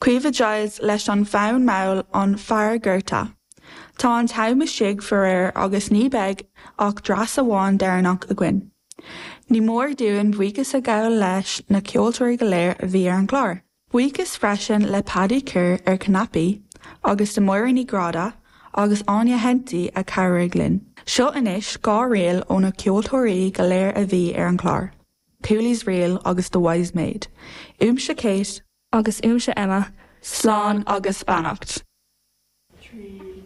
Caoimhe Giles leis an bhfonn mall An Fear Gorta. Tá an t-am istigh faraor agus ní beidh ach dreas amháin deireanach againn. Ní mór dúinn buíochas a ghabháil leis na ceoltóirí go léir a bhí ar an gclár. Buíochas freisin le Paddy Kerr ar Cnaipí agus do Máire Ní Ghráda agus Áine Henty a chabhraigh linn. Seo anois 2 ríl ó na ceoltóirí go léir a bhí ar an chlár, Cooley's Reel agus The Wise Maid. Uaimse Kate. Agus uaimse Emma. Slán agus beannacht. 3.